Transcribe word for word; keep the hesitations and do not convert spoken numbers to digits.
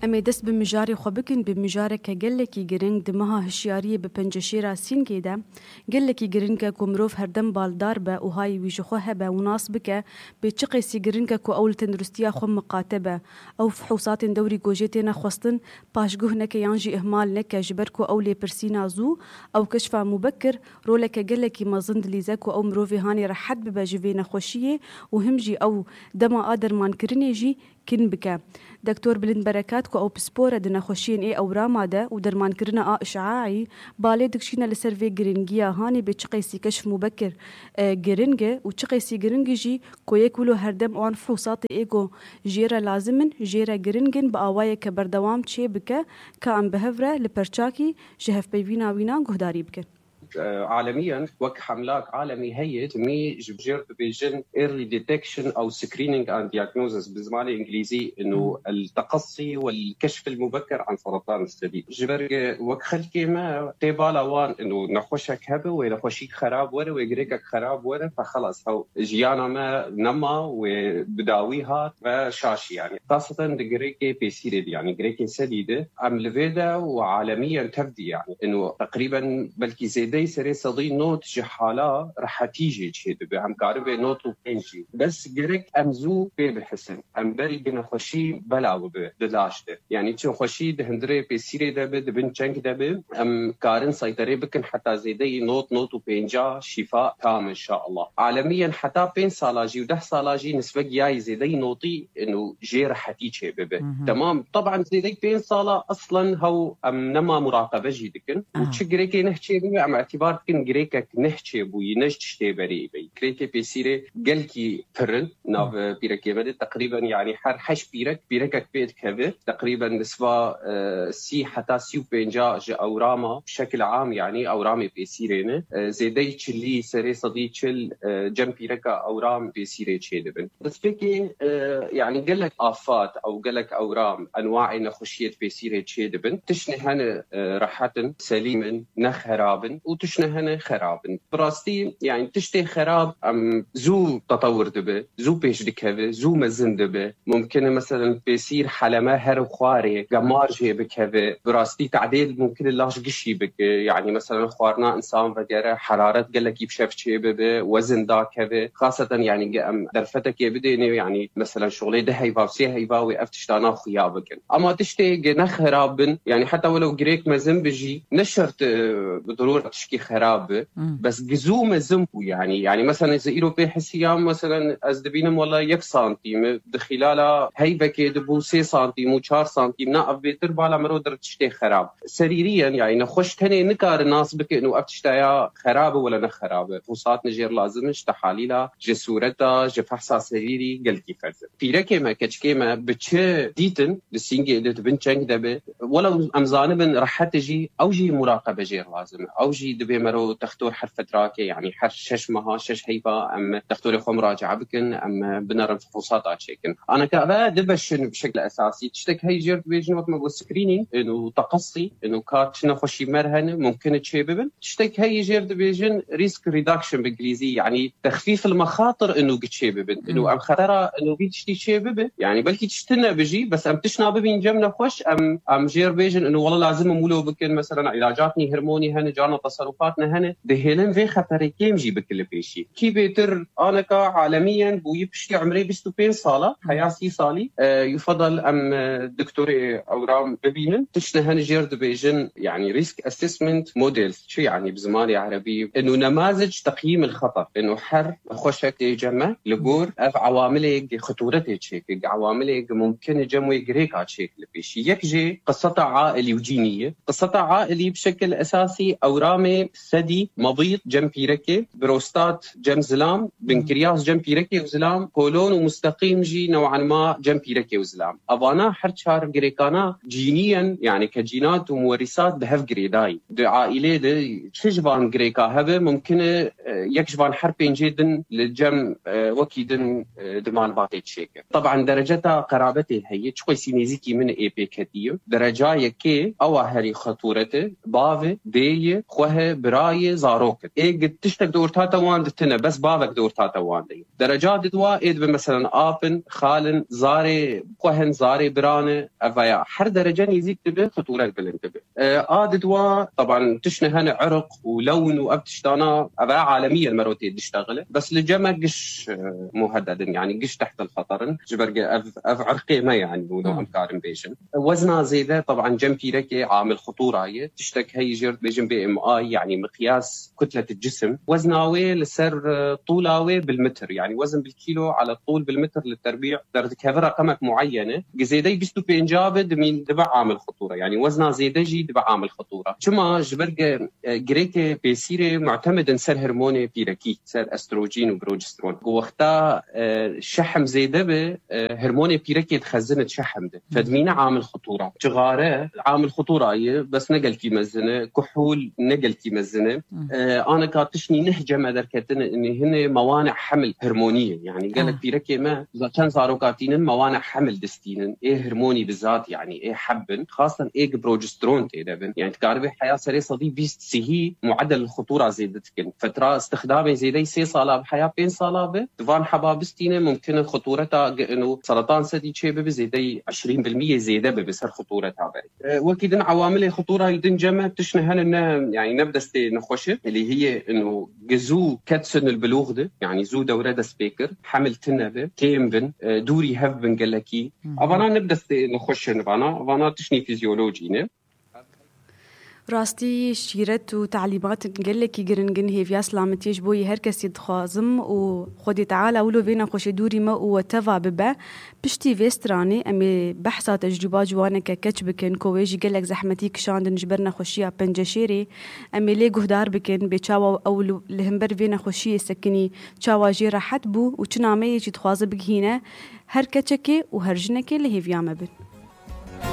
Em ê dest bi mijarê xwe bikin, bi mijareke gelekî giring di meha hişyariyê bi penceşêra Sîngê de. Gelekî giring e ku mirov herdem baldar be û hayê wî ji xwe hebe û nas bike, bê çi qeysî giring e ku ew li tenduristiya xwe miqate be. Ew fihûsatên dewrî ku jê têne xwestin, paşguh neke yan jî ihmal neke, ji ber ku ew lêpirsîna zû, ew keşfa mubekir, roleke gelekî mezin dilîze ku ew mirovê hanê rehet bibe ji vê nexweşiyê û him jî ew dema a dermankirinê jî kin bike. Doktor Bilind Berekat ku ew pispor e di nexweşiyên ê ewrama de û dermankirina a îşaî, balê dikişîne li ser vê giringiya hanê bê çi qeysî keşf mubekir, e, giring e û çi qeysî giring e jî ku yek wilo herdem wan fihûsatê ê ku jê re lazim in, jê re giring in, bi awayeke berdewam çê bike, ka em bi hev re li perçakî ji hevpeyvîna wîna guhdarî bikin. Alemiyen wek hemlak alemî heye, timî ji jêr dibêjin early detection ew screening and diagnosis bi zimanê îngilîzî, inu el teqesî wel keşf el mubeker an seratan sedî. Ji ber wek xelkê me tê bala wan, inu nexweşek hebe, wê nexweşîk xerab were, wê girêkek xerab were, fe xelas hew jiyana me nema, wê bi dawî hat ve şaşî yani. Xaseten di girêkê pêsîrê de, yani girêkê sedî de, em li vê de û alemiyen tev dî yani. Ino teqrîben belkî zêdeyî serê sedî nod ji hala rehetî jê çêdibe. Em karin vê nod û pênc jî. Bes gerek em zû pê bihisin. Em berî bi nexweşî bela bibe di laş de. Yani çi nexweşî di hundirê pêsîrê de be, di bin çeng de be, em karin seyterê bikin heta zêdeyî nod, nod û pênca şîfa tam inşallah. Alemiyen heta pênc sala jî û deh sala jî nisbe giyayî zêdeyî notî û jê rehetî çê bibe. Hı hı. Temam. Taban zêdeyî pênc sala aslen hew em nema muraqebe jî dikin. Û Aha. çi girêkê neh çê bibe, em îtibar dikin girêkek neh çê bûyî, ne ji tiştê berê bey. Girêkê pêsîrê gelkî pir in. Nav Hı. pîrekê me de teqrîben, yani her heşt pîrek, pîrekek pê dikeve. Teqrîben nisba, e, sî heta sî û pênca ji ewrama, şekil am, yani ewramê pêsîrê ne. E, zêdeyî çilî, serê sedî çil, e, cem pîreka ewram pêsîrê çêdibin. Destpêkê, e, yani gelek afat ew gelek ewram, enwaê nexweşiyê pêsîrê çêdibin. Tiştê hene, e, rehet in, selîm in, ne xerab in û tiştê hene xerab in. Bi rastî, yani tiştê xerab, em, zû tetewir dibe, zû pêş dikeve, zû mezin dibe. Mumkin e, meselen, pêsîr heleme her û xwarê, gemar jê bikeve. Bi rastî tedêl mumkin e laş gişî bike. Yani, meselen, xwarina insan vegere, heraret gelekî bi şev çê bibe, wezin dakeve. Xaseten, yani, ge em derfetekê bidêne, yani, meselen, şolê di heyva, sê heyva wê ev tiştana xuya bikin. Ama tiştê ge ne xerab bin, yani, heta welew girêk mezin bi jî, ne şert, e, bi dirûr tişkî xerab bi. Hmm. Bes gizû mezin bû, yani. Yani, meselen, ez îro pê hesiyam, meselen, ez dibînim wela yek santîm, di xîlala heyvekê de bû sê santîm û çar santîm, na ev bêtir bala miro dir tiştê xerab. Serîriyen, yani, nexweş tenê nikare nas bikin û ev tiştaya xerab e wela ne xerab e. Fûsat nijêr lazim e, ji tehalîla, ji sûreta, ji fehsa serîrî gelkî ferz e. Pîrekê me, keçikê me bi çi dîtin, di sîngê de, di bin çeng de be, wela em zanibin rehet e jî, ew jî muraqebe jêr lazim e. Ew jî divê mero textor her fetrakê, yani her şeş meha, şeş heyva em textorê xwe muracae bikin, em binerin fihûsata çêkin. Aneka ve dibeşin bi şekil esasî. Tiştek hey jêr dibêjin wek me got screening, ino teqesî, ino ka çi nexweşî mer hene, mumkin e çê bibin. Tiştek hey jêr dibêjin risk reduction bi îngilîzî, yani texfîf el mexatir ino giçê bibin. Ino Hmm. em xetera ino vî tiştî çê bibe. Yani belkî tişt tune bijî, bes em tişna bibîn cem nexweş, em, em jêr bêjin, ino wela lazim e mûlo bikin, mesela îlacat nî hormonî hene, carna teserufat ne hene, dihêlin vê xeterê kêm jî bikin li pêşî. Kî bêtir aneka alemiyen bûyî piştî umrê bîst û pênc sala, heya sî salî, e, yufadal em, e, doktorê ewram bibînin. Tişt ne hene jêr dibêjin, yani risk assessment models, çi yani bi zimanê erebî? Ino nemazic teqyîm el xeter. Ino her xweşek tê cem me li gor ev ewamilê xeturetê çêke, ewamilê mumkin e cem wê girêka çêk li pêşî. Yek jê qiseta ailî û cînî ye. Qiseta ailî bi şekil esasî ewramê sedî, mebît cem pîrekê, prostat cem zilam, binkiryas cem pîrekê û zilam, kolon û musteqîm jî new'an ma cem pîrekê û zilam. Evana her çar girêkana cîniyen, yani ke cînat û muwerîsat bi hev girêdayî. Di aîlê de çi ji van girêka hebe, mumkin e, e, yek ji van her pêncê din li cem, e, wekî din, e, di malbatê çêke. Taban dereceta qerabetê heye, çi qeysî nêzîkî min ê pê ketiye. Dereca yekê ewa herî xetûret e, bav e, dê ye, xwe he, birayê, zarok in. Ê gi-, tiştek di orta te wan di tine, bes bavek di orta te wan de ye. Dereca di dwa ê dibe, meselen, ap in, xal in, zarê xwe hin, zarê biran e, ev veya her derece nêzîk dibe, xitûret bilind dibe. E, a di dwa, taban, tiştine hene irq û lewn û ev tiştana, ev e alemiyen mero tê diştexile. Bes li cem e giş, e, muhedded in, yani giş tehtel xeter in. Ji ber ge ev, ev irqê me yani, û Hmm. em karin bêjin. Wezna zêde, taban, cem pîrekê amil xitûra ye. Tiştek heyî jêr dibêjin B M I, yani miqyas kutlet cisim. Wezna wê li ser, e, tûla wê bil metr, yani wezn bil kîlo ala tûl bil metr li terbî derdikeve reqemek muayyen e. Gi zêdeyî bîst û pênc be dimîn dibe amil xitûra. Yani wezna zêde jî dibe amil xitûra. Çima? Ji ber ge, e, girêkê pêsîrê mutemed in ser hormonê pîrekî, ser estrojen û progesteron. Ku wexta, e, şehm zêde be, e, hormonê pîrekê dixezin di şehm de. Fedmîne amil xitûra. Çixare amil xitûra ye, bes ne gelkî mezin e, kuhûl ne gelkî mezin e. Hmm. E, aneka tiştî neh cem e derketin, hinê mewane hemil hormonî ye. Yani gelek Ah. pîrekê me, za-, çend zaroka tînin mewane hemil distînin. Ê hormonî bi zat, yani ê heb bin. Xastan ê gi progesteron tê de bin. Yani dikaribe heya serê sedî bîst sihî muedel xitûra zêde dikin. Fetra istixdamê zêdeyî sê sala bi heya pênc sala bi. Di van heba bistîne mumkin e xitûreta ge-, ino seratan sedî çê bibe, zêdeyî eşrîn bil miyê zêde bibe ser xitûreta berê. E, wekî din ewamilê xitûra li din cem e, tiştine hene ne, yani ne bi destê nexweşe, lê hiyê ino ge zû ket sin il bilûx de, yani zû dewre dest pê kir, hemil tine be, kêm bin, e, dûrî hev bin gelekî. Hı hı. Avana ne bi destê nexweşe, vana, vana tiştî fizyolojî ne. Rastî şîret û talîmatên gelekî giring in, hêviya silametiyê ji bo yê her kesî dixwazim û Xwedê Teala wilo vê nexweşê dûrî me û we teva bibe. Piştî vê stranê em ê behsa tecrûba ciwaneke keç bikin, ku wê jî gelek zehmetî kişandin ji ber nexweşiya penceşêrê. Em ê lê guhdar bikin, bê çawa ew li, li hember vê nexweşiyê sekinî, çawa jê rehet bû û çi nameyê jî dixwaze bigihîne her keçekê û her jinekê li hêviya me bin.